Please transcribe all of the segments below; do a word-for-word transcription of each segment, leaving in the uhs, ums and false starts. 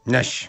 Anois,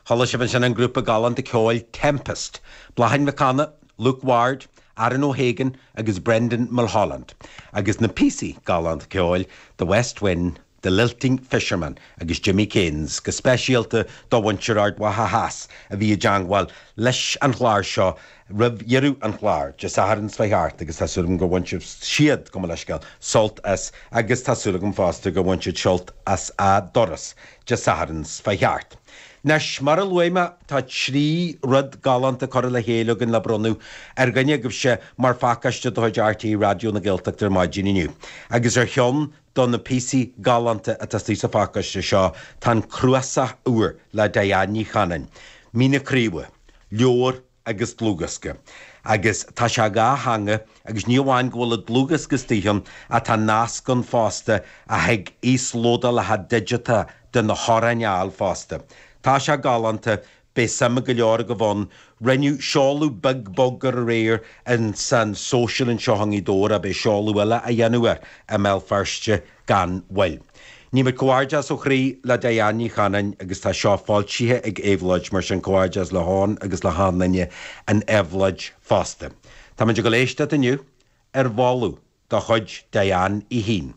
chuala sibh ansin an grúpa galánta ceoil Tempest, Bláithín Mhic Cana, Luke Ward, Aaron O'Hagan agus Brendan Mulholland, agus na píosaí galánta ceoil The West Wind, The Lilting Fisherman agus Jimmy Keynes, go speisialta do mhuintir Ard Mhacha Theas a bhí i dteagmháil leis an chlár seo roimh dheireadh an chláir Dé Sathairn seo thart agus tá súil agam gur bhain siad go leisceal sult as agus tá súil agam fosta gur bhain siad sult as a dturas Dé Sathairn seo thart. Anois mar a luaigh mé tá trí rud galánta curtha le chéile againn le bronnadh ar dhuine agaibhse mar phacáiste de chuid RTÉ Raidió na Gaeltachta ar maidin inniu. Agus ar cheann de na píosaí galánta atá sa phacáiste seo tá an cnuasach úr le Diane Ní Chanainn. Mí na Craoibhe, leabhar agus dlúthdhiosca. Agus tá sé dhá theanga agus ní amháin go bhfuil an dlúthdhiosca istigh ann atá nasc ann fosta a thig íoslódálacha digiteacha de na hamhráin a fháil fosta. Tá sé galánta beidh suim go leor agaibh ann, rinneadh seoladh beag bog aréir in san social anseo i nGaoth Dobhair beidh seoladh eile á dhéanamh air i mBéal Feirste gan mhoill. Ní comhghairdeas ó chroí le Diane Ní Chanainn agus tá seo foilsithe ag Éabhlóid mar sin comhghairdeas le hAnn agus le haon duine in Éabhlóid fosta. Tá muid ag éisteacht inniu ar mholadh de chuid Diane í féin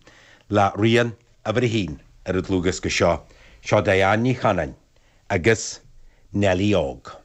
le rian uimhir a haon ar an dlúthdhiosca seo, seo Diane Ní Chanainn agus Nellie Óg.